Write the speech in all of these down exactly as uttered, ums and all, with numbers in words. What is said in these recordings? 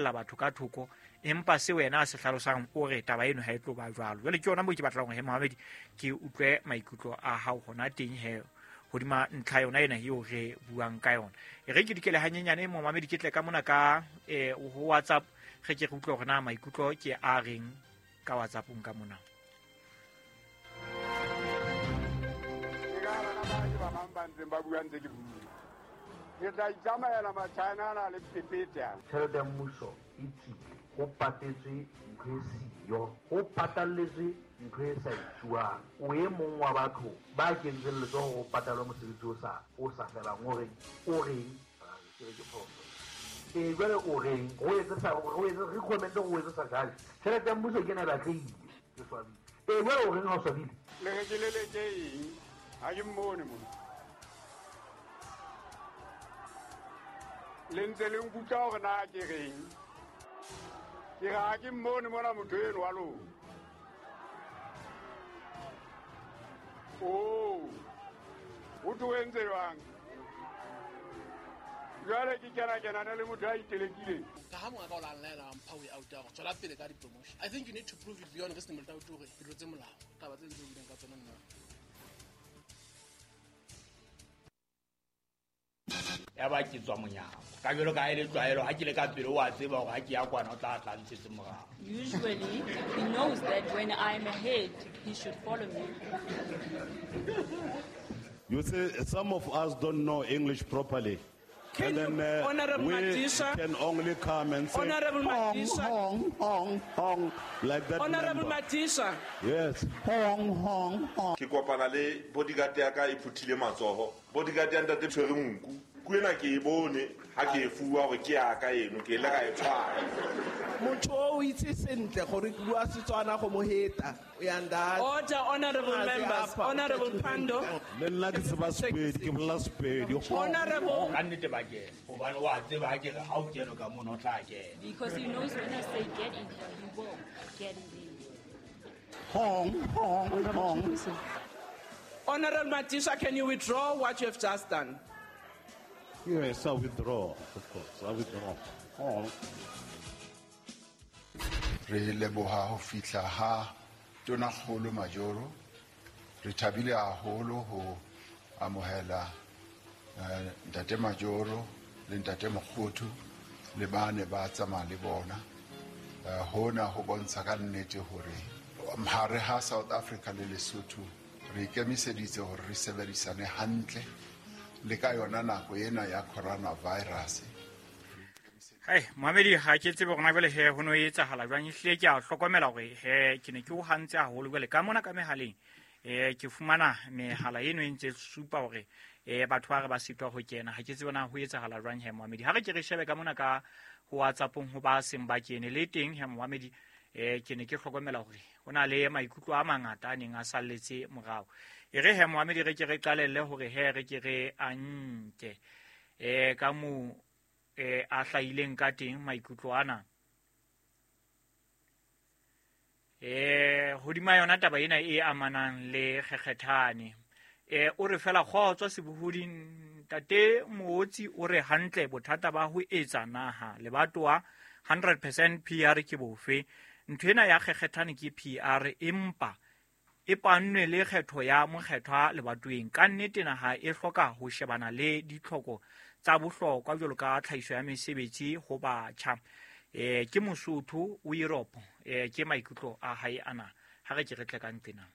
qhekella batho ka thoko, empa se wena a se hlalosang o re taba eno ha e tlo ba jwalo. Jwale ke yona moo ke batlang hore he Mohamedi ke utlwe maikutlo a hao hona teng he hodima ntlha yona ena eo re buang ka yona. E re ke dikele hanyenyane Mohamedi ke tle ka mona ka eh ho WhatsApp re ke re utlwe hore na maikutlo ke a reng ka WhatsAppong ka mona. Ba ntseng ba bua ntse ke bua. Ke tla itsamaela Machina ana le pepete ana. Tjhelete ya mmuso e tswile, ho patetswe ntho e siyo, ho patalletswe ntho e sa etsuwang. O e mong wa batho ba kentseng letsoho ho patalwa mosebetsi o sa o sa felang, o reng o reng ke re ke phoso. Eh jwale o reng o etse sa o etse re comment o etse sa jale. Tjhelete ya mmuso ke ena e batlehile, ke swabile. Eh jwale o reng ha o swabile? Le re ke leleke eng? Ha ke mmone mona. Le ntse le nkutlwa hore na ke reng. Ke re ha ke mmone mona motho eno wa lona. Oh, ho thwe o entse jwang? Jwale ke kena kenana le motho a itelekileng. Ka ha monga ka o la nlaela mpha way out ya hore tswela pele ka di-promotion. I think you need to prove it beyond reasonable doubt hore ke tlotse molao. Taba tse ntse o buileng ka tsona nna. Ya ba ke tswa monyako. Ka jwalo ka ha e le tlwaelo, ha ke le ka pele o a tseba hore ha ke ya kwana o tla tla ntshetse morao. Usually, he knows that when I'm ahead, he should follow me. You see, some of us don't know English properly. Can And then, you, uh, Honorable we Madisha, can only come and say, Honorable hong, Madisha. hong, hong, hong, like that Honorable member. Madisha. Yes. Hong, hong, hong. Ke kopana le bodyguard ya ka e phuthile matsoho. Bodyguard ya ntate tshwere nku. Ku ena ke e bone ha ke e fuwa hore ke ya ka eno, ke ile ka e tshwara. Motho o itse sentle gore ke bua Setswana go mo heta. O ya nda. Order, honorable A se members. apa, Honorable Pando. Le nna ke tseba Sepedi, ke bolela Sepedi. Honorable. Ka nnete ba kena, hobane wa tseba ha ke re ha o kene ka mono o tla kena. Because he knows when I say get in here, he will get in there. Hong, hong, hong. Honorable Madisha, can you withdraw what you have just done? Yes, I withdraw, of course. I withdraw. Hong. Re leboha ho fihla ha Tonakgolo Majoro. Re thabile haholo ho amohela, eh, Ntate Majoro le Ntate Mokgothu le ba ne ba tsamaya le bona. Eh, hona ho bontsha ka nnete hore hare ha South Africa le Lesotho re ikemiseditse hore re sebedisane hantle le ka yona nako ena ya coronavirus. Hai, Mohamedi, ha ke tsebe hore na jwale he ho no etsahala jwang. Ehlile ke a hlokomela hore he ke ne ke o hantse haholo jwale ka mona ka mehaleng. Eh, ke fumana mehala eno e ntse supa hore, eh, batho ba re ba sitwa ho kena. Ha ke tsebe na ho etsahala jwang he Mohamedi. Ha re ke re shebe ka mona ka ho WhatsAppong ho ba seng ba kene le teng he Mohamedi, eh, ke ne ke hlokomela hore ho na le maikutlo a mangata a neng a salletse morao. E re he Mohamedi re ke re qalelle hore he re ke re a nke, eh, ka moo, eh, a hlahileng ka teng maikutlo ana. Eh, hodima yona taba ena e amanang le kgekgethane. Eh, o re fela kgotso sebohoding ntate Mootsi o re hantle bothata ba ho etsa naha lebatowa hundred percent P R ke bofe. Ntho ena ya kgekgethane ke P R empa e pannwe le kgetho ya mokgethwa lebatoweng. Ka nnete naha e hloka ho shebana le ditlhoko tsa bohlokwa jwalo ka tlhahiso ya mesebetsi ho batjha. Eh, ke Mosotho o Europe, eh, ke maikutlo a hae ana. Ha re ke re tle ka ntlena.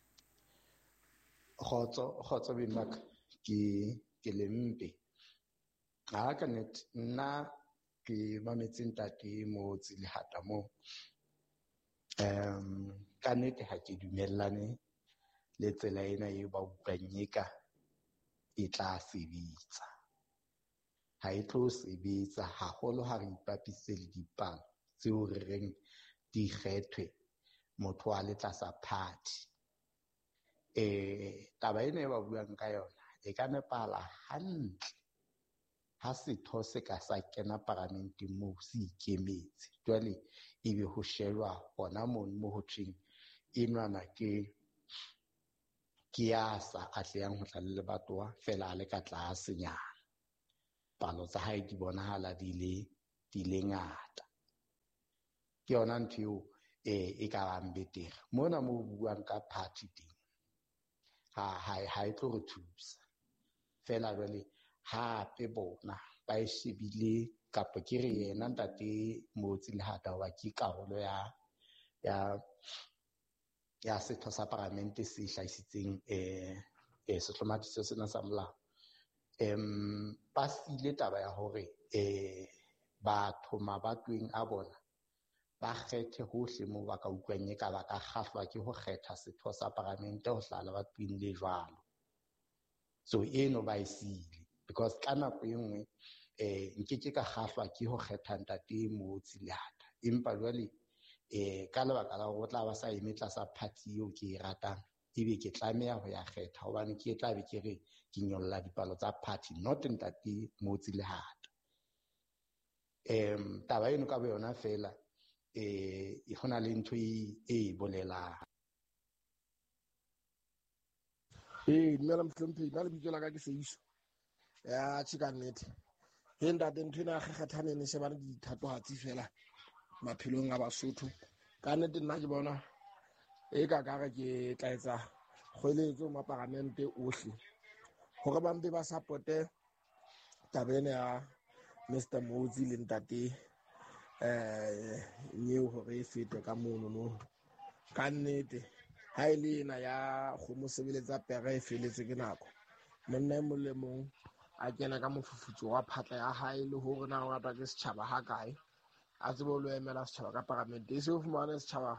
Kgotso, kgotso beng ba ka, ke, ke le mpe. Ha ka nnete, nna ke mametse ntate Mootsi Lehata moo. Em, ka nnete ha ke dumellane le tsela ena eo ba utlwang eka e tla sebetsa. Ha e tlo sebetsa haholo ha re ipapise le dipalo tseo re reng di kgethwe motho a le tlasa party. Eh, taba ena e ba buang ka yona e ka nepahala hantle ha setho se ka sa kena paramenteng moo se ikemetse. Jwale ebe ho shejwa hona mono mo ho thweng enwana ke, ke ya sa atlehang ho tla le lebatowa feela a le ka tlasenyana. Palo tsa hae di bonahala di le, di le ngata. Ke yona ntho eo eh e ka bang betere. Mona mo buang ka party teng ha ha ha e tlo re thusa. Fela jwale hape bona ba e shebile kapa ke re yena ntate Motsi Lehata wa ke karolo ya ya ya setho sa paramente se hlahisitseng eh eh sehlomathiso sena sa molao. Em ba sile taba ya hore eh batho mabatweng a bona ba kgethe hohle moo ba ka utlwang e ka ba ka kgahlwa ke ho kgetha setho sa paramente ho hlala ba tweng le jwalo. So eno ba e sile because ka nako e nngwe eh nkeke ka kgahlwa ke ho kgetha ntate Motsi Lehata, empa jwale eh ka lebaka la hore o tla ba sa eme tlasa party eo ke e ratang, ebe ke tlameha ho ya kgetha hobane ke tla be ke re ke nyolla dipalo tsa party, not ntate Motsi Lehata. Em taba eno ka bo yona fela eh e hona le ntho e e bolelang. Eh dumela mohlomphehi, nna lebitso la ka ke Seiso. Ya tjhe ka nnete. He ntate, ntho ena ya kgekgethane ne shebane dithatohatsi fela maphelong a Basotho. Ka nnete nna ke bona e ka ka re ke tla etsa kgoeletso maparamente ohle hore ba mpe ba supporte taba ena ya Mister Motsi le ntate eh nyeo hore e fete ka mono no. Ka nnete ha e le ena ya kgomo sebeletsa pere e feletswe ke nako. Monna e mong le mong a kena ka mofufutso wa phatla ya hae le hore na o ratwa ke setjhaba ha kae, a tsebe ho lo emela setjhaba ka paramente. E se o fumane setjhaba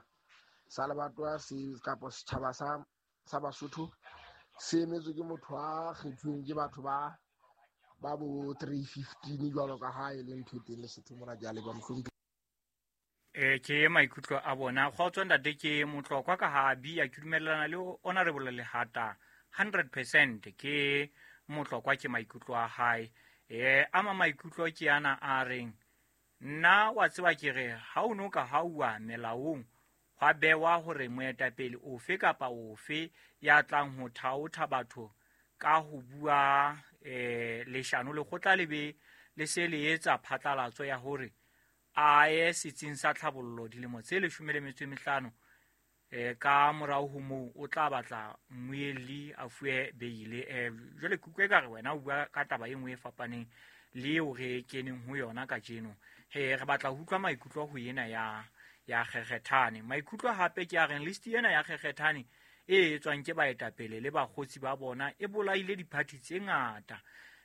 sa lebatowa se kapa setjhaba sa sa Basotho se emetswe ke motho a kgethuweng ke batho ba ba bo three fifteen jwalo ka ha e le ntho e teng Lesotho mona. Ke a leboha mohlomphehi. Eh ke maikutlo a bona. Kgotso ntate, ke Motlokwa ka ha bia ke dumellana le Honorable Lehata hundred percent. Ke Motlokwa ke maikutlo a hae. Eh ama maikutlo ke ana a reng nna wa tseba ke re ha o no ka hauwa melaong hwa bewa hore moetapele ofe kapa ofe ya tlang ho thaotha batho ka ho bua eh leshano lekgotla le be le se le etsa phatlalatso ya hore a ye setsing sa tlhabollo dilemo tse leshome le metso e mehlano eh ka morao ho moo o tla batla mmuelli a fuwe beile. Eh jwale ke utlwe ka re wena o bua ka taba e nngwe e fapaneng le eo re keneng ho yona kajeno. He re batla ho utlwa maikutlo ho ena ya ya kgekgethane. Maikutlo hape ke a reng list ena ya kgekgethane e etswang ke baetapele le bakgotsi ba bona e bolaile diphathi tse ngata,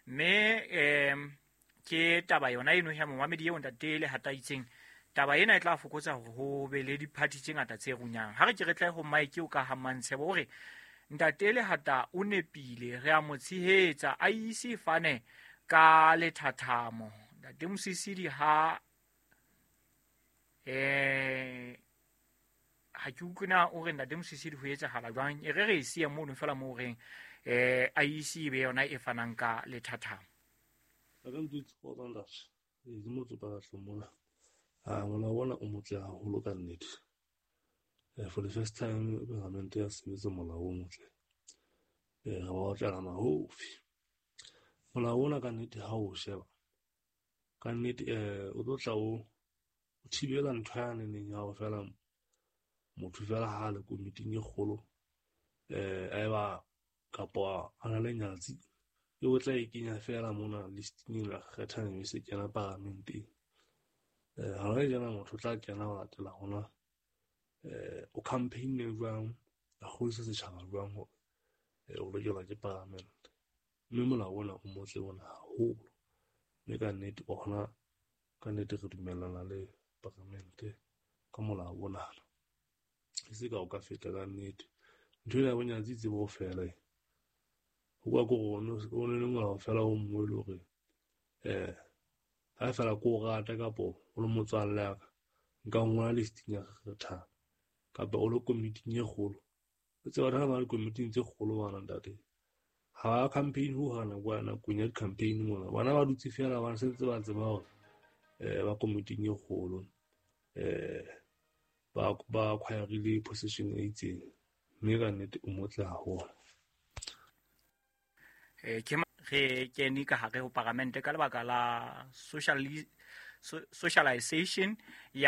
mme em ke taba yona eno ya momamedi eo ntate Lehata itseng taba ena e tla fokotsa hore ho be le diphathi tse ngata tse runyang. Ha re ke re tle ho Mike o ka ha Mantshebo hore ntate Lehata o nepile, re a mo tshehetsa, a ise fane ka lethathamo. Ntate Mosisili ha eh ha ke utlwe na o re ntate Mosisili ho etsahala jwang, e re re e siye mono fela moo reng eh a ise e be yona e fanang ka lethathamo. Ka ntse go ntate ke motho ba hlomola. Ah molao ona o motle haholo ka nnete. Eh for the first time paramente ya sebetsa molao o motle. Eh re ba otlela mahofi. Molao ona ka nnete ha o sheba. Ka nnete eh o tlo tla o o thibela ntho ya neneng ya ho fela motho fela ha le komiting e kgolo eh a eba kapa a na le nyatsi e o tla e kenya fela mona listing la kgethang e se kena paramenteng. Eh ha re jana motho o tla kena ho latela hona eh o campaign e jwang a kgodisa setjhaba jwang hore eh o lokelwa ke paramente. Mme molao ona o motle ona haholo, mme ka nnete ona ka nnete re dumellana le paramente ka molao ona. E se ka o ka feta ka nnete ntho ena ya bonyatsi e tsebe ho fela. Ho kwa ko rona o ne le molao fela o mongwe e le hore eh ha fela ko o rata kapo o le motswalle ya ka nka ngola listing ya kgethana kapa o le komiting e kgolo. O tseba batho ba le komiting tse kgolo bana ntate ha ba campaign ho hana kwa nakong ya di-campaign mona bana ba dutse fela ba sentse ba tseba hore eh ba komiting e kgolo eh ba ba acquirile position e itseng, mme ka nnete o motle haholo. Eh ke re kene ka hare ho paramente ka lebaka la socialization ya